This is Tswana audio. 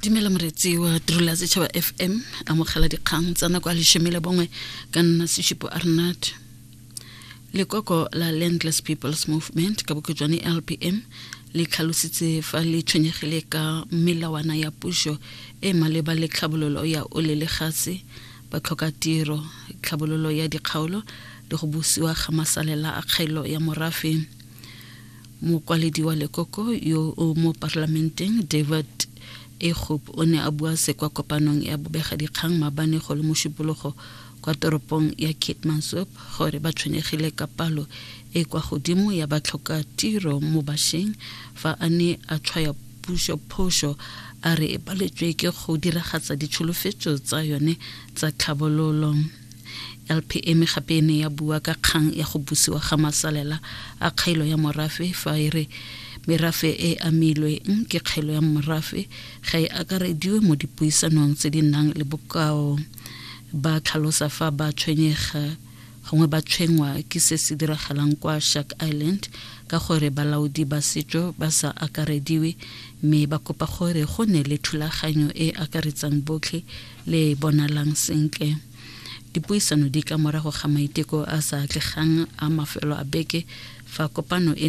Dumela moretsi wa tirelo ya Setšhaba FM, amogela dikgang tsa nako a 11 ka nna Seshupo Arnat. Lekoko la Landless People's Movement ka bokhutshwane LPM le tlhalositse fa le tshwenyegile ka melawana ya puso e maleba le tlhabololo ya ole le gase, batlhokatiro, tlhabololo ya dikgaolo le go busiwa ga masalela a kgaelo ya morafe. Mokwaledi wa lekoko yo o mo parlamenteng David Egob o ne a bua se kwa kopanong ya bobegadikgang maabane go le Mošupologo kwa toropong ya Keetmanshoop gore ba tshwenyegile ka palo e kwa godimo ya batlhokatiro mo bašweng fa a ne a tshwaya puso phoso a re e paletswe ke go diragatsa ditsholofetso tsa yone tsa tlhabololo. LPM gape e ne ya bua ka kgang ya go busiwa ga masalela a kgailo ya morafe fa e re merafe e amilweng ke kgailo ya morafe ga e akarediwe mo dipuisanong tse di nang le bokao. Ba tlhalosa fa ba tshwenyega gongwe ba tshwenngwa ke se se diragalang kwa Shark Island ka gore balaodi ba setso ba sa akarediwe mme ba kopa gore go ne le thulaganyo e akaretsang botlhe le e bonalang sentle. Dipuisano di ka morago ga maiteko a sa atlegang a mafelo a beke fa kopano e ne